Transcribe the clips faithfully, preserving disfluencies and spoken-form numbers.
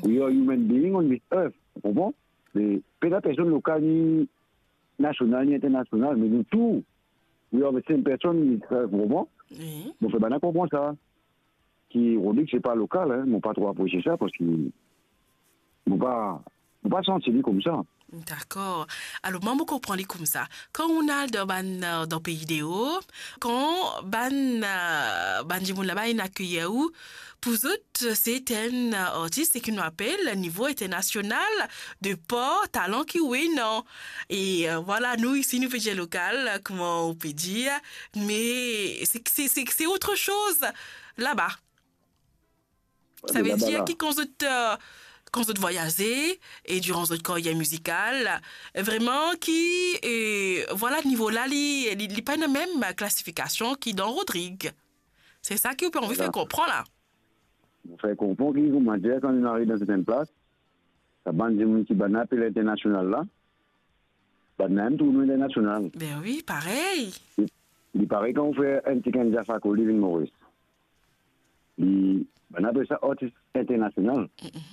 We are human being on this earth. Ou konpran? Me pena personn lokal, ni nasional, ni internasional, me nou tou, we are the same person on this earth, ou konpran? Wi. Mo fer bann-la konpran sa, ki Rodrigue se pa lokal, hein. Mo pa tro apresie sa, parski mo pa, mo pa santi li koumsa. Dakor. Alor, mwa, mo konpran li koumsa. Kan ou al dan bann, euh, dan pei deo, kan bann, euh, bann dimoun laba inn akeyir ou, pou zot, se enn, euh, artis, seki nou apel nivo internasional, de par talan ki ou ena. E, euh, vwala, nou isi, nou pe dir lokal, kouma ou pe dir, me se, se, se, se autre chose laba. Savedir ki kan zot, euh, kan zot vwayaze e diran zot karyer mizikal, vreman ki, euh, vwala, nivo la, li, li, li pa ena mem klasifikasion ki dan Rodrigue. Se sa ki ou pe anvi fer konpran la. Mo fer konpran ki, koumadir, kan nou ariv dan sertenn plas, sa bann dimoun ki bann-la apel internasional la, bann-la mem trouv nou internasional. Ben wi, parey. Li, li parey kan ou fer enn ti kandida fako, li vinn Moris. Li, bann-la apel sa artis internasional. Mm-mm.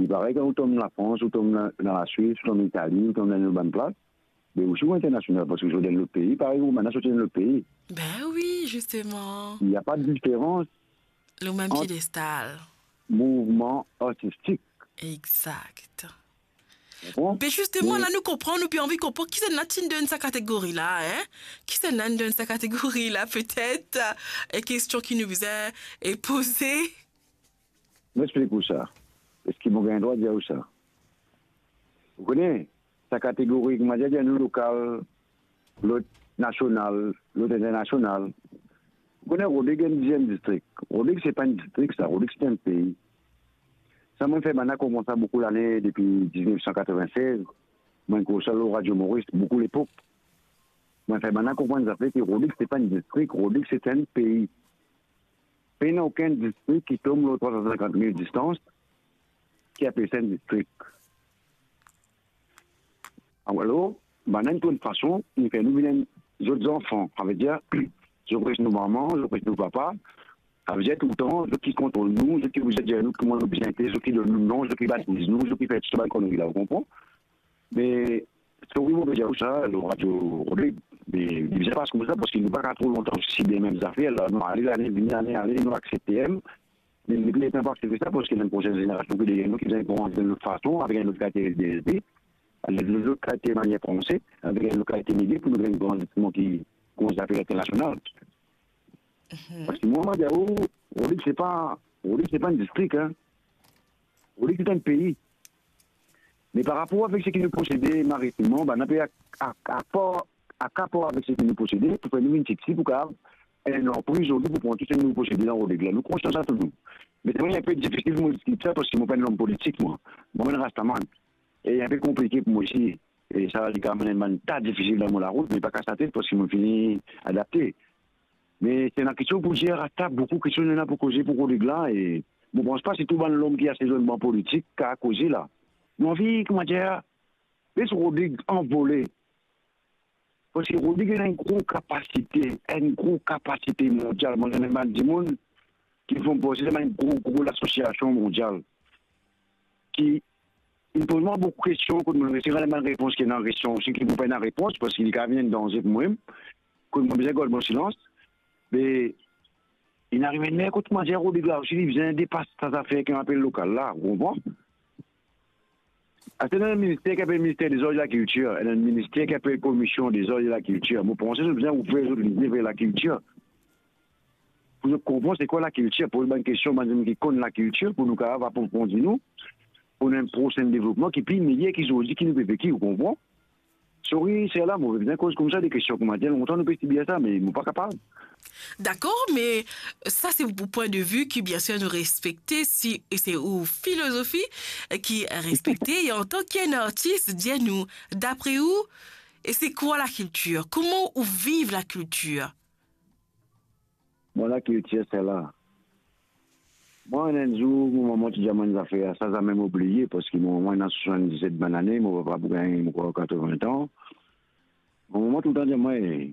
Li parey kan ou tom Lafrans, ou tom dan, dan Laswis, ou tom Itali, ou tom dan enn bann plas, be ou sou internasional, parski ou soti dan lot pei, parey ou bann-la soti dan lot pei. Ben wi, zisteman. Il n'y a pas de différence. Le mem ant piedestal. Mouvman artistik. Exact. Bon. Be zisteman, la nou konpran, nou pe anvi konpran kisannla ti'nn dan sa kategori la, hein? Kisannla inn dan sa kategori la, petet, euh, e kestion ki nou bizin, euh, poze. Mo explik ou sa. Eski mo gagn drwa dir ou sa? Ou kone, sa kategori, koumadir, dir nou lokal, lot nasional, lot internasional. Ou kone, Rodrigue enn diziem distrik. Rodrigue se pa enn distrik sa, Rodrigue se enn pei. Sa mo fer bann-la konpran sa boukou lane, depi diznef san katreven-sez. Mo koz sa lor Radio Moris, boukou lepok. Mo fer bann-la konpran zafer ki Rodrigue se pa enn distrik, Rodrigue se enn pei. Pena okenn distrik ki tom lor trwa san sinkant mil distans, ki apel sa enn distrik. Alor, bann-la inn trouv enn fason, inn fer nou vinn enn zot zanfan. Savedir, zot pres nou mama, zot pres nou papa. Savedir toultan, zot ki kontrol nou, zot ki bizin dir nou kouma nou bizin ete, zot ki donn nou non, zot ki batiz nou, zot ki fer tou sa bann konnri la, ou konpran? Me, sorry mo pe dir ou sa, lor Radio Rodrigue, me li bizin pas koumsa, parski nou pa kapav tro lontan sibir mem zafer la. Nou ale, lane vini, lane ale, nou aksepte, me nou pa kapav aksepte sa, parski ena enn prosenn zenerasion ki deryer nou, ki bizin grandi dan enn lot fason, avek enn lot kalite de vi, avek enn lot kalite manier panse, avek enn lot kalite lide pou nou gagn grandi kouma ki, kouma zafer internasional. Mhm. Parski mwa, mo dir ou, Rodrigue se pa, Rodrigue se pa enn distrik, hein. Rodrigue se enn pei. Me par rapor avek seki nou posede maritimman, bann-la pe ak-, ak-, akor, akapar avek seki nou posede, pou fer nou vinn tipti, pou kapav enn lanpriz zordi pou pran tou seki nou posede dan Rodrigue la. Nou konsian sa tou nou. Me se vre, li inpe difisil pou mo explike sa, parski mo pa enn lom politik, mwa. Mo enn rastaman. E li inpe konplike pou mo osi. E sa, li kapav amenn enn bann ta difisil dan mo larout, me pa kas latet, parski mo fini adapte. Me se ena kestion pou dir, ata boukou kestion ena pou koze pou Rodrigue la, e mo pans pa si tou bann lom ki asize lor bann politik kapav koze la. Nou anvi, koumadir, les Rodrigue anvole. Parski Rodrigue ena enn gro kapasite, enn gro kapasite mondial. Mo, ena bann dimoun ki finn pase dan bann gro, gro lasosiasion mondial. Ki inn poz mwa boukou kestion, kot mo resi rann bann repons ki ena kestion osi, ki mo pa ena repons, parski li kapav vinn enn danze pou mwa, kot mo bizin gard mo silans. Me inn ariv enn ler kot mo dir Rodrigue la osi, li bizin depas sa zafer ki apel lokal la, ou konpran? Aster ena enn minister ki apel Minister dezar e lakiltir, ena enn minister ki apel Komision dezar e lakiltir. Mo panse zot bizin ouver zot lizie ver lakiltir. Pou zot konpran se kwa lakiltir, poz bann kestion bann dimoun ki konn lakiltir, pou nou kapav aprofondi nou, pou nou ena enn prosenn devlopman ki pli meyer ki zordi ki nou pe veki, ou konpran? Sorry, se la, mo bizin koz koumsa de kestion, koumadir, lontan nou pe sibir sa, me mo pa kapav. Dakor, me sa se ou pwin de vi ki, biensir, nou respekte, si, e se ou filozofi, e ki respekte, e antan ki enn artis, dir nou, dapre ou, e se kwa lakiltir? Kouma ou viv lakiltir? Mwa, lakiltir, se la. Mwa, enn zour, mo mama ti dir mwa enn zafer, sa zame mo bliye, parski mo mama ena swasann-diset bann lane, mo papa pou gagn, mo krwar, katreven-wit an. Mo mama toultan dir mwa, "Eh,